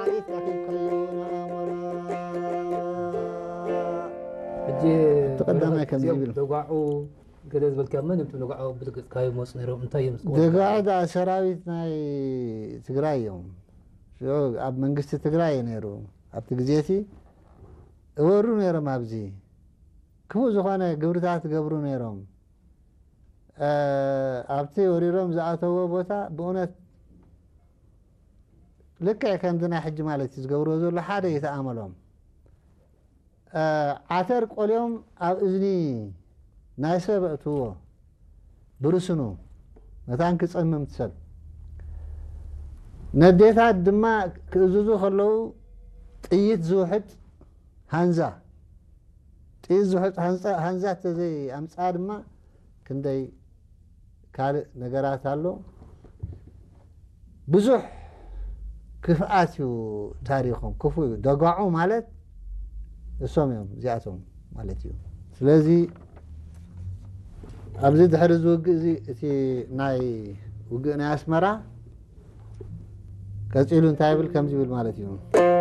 ሰራዊት ረኺብካዮ ንኣሞራ። ሕጂ እቲ ቀዳማይ ከምዚ እዚኦም ይብል። ደጓዑ ገለ ዝበልካ መን እዮም ደጓዑ ብልግፅካዮ መፁ ነይሮም እንታይ እዮም ዝገብሩ? ደጋዕ ደኣ ሰራዊት ናይ ትግራይ እዮም። ሽዑ ኣብ መንግስቲ ትግራይ እዩ ነይሩ። ኣብቲ ግዜ እቲ እወሩ ነይሮም። ኣብዚ ክፉእ ዝኾነ ግብርታት ገብሩ ነይሮም። እ፣ ኣብቲ ወሪሮም ዝኣተዎ ቦታ ብእውነት ልክዕ ከምዚ ናይ ሕጂ ማለት እዩ ዝገብርዎ ዘሎ ሓደ እዩ ተኣመሎም። እ፣ ዓተር ቆልዮም ኣብ እዝኒ ናይ ሰብ ኣእትዎ ብርስኑ መታን ክጸምም ትሰብ። ነዴታት ድማ ክእዝዙ ከለዉ ጥይት ዝውሕጥ ሃንዛ፣ ጥይት ዝውሕጥ ሃንዛ፣ ሃንዛ ተዘይ ኣምጻ ድማ ክንደይ ካልእ ነገራት ኣሎ። ብዙሕ ክፍኣት እዩ ታሪኾም፣ ክፉእ እዩ። ደጓዑ ማለት እሶም እዮም እዚኣቶም ማለት እዩ። ስለዚ ኣብዚ ድሕሪ እዚ ውግእ እዚ እቲ ናይ ውግእ ናይ ኣስመራ ቀጺሉ እንታይ ይብል ከምዚ ይብል ማለት እዩ።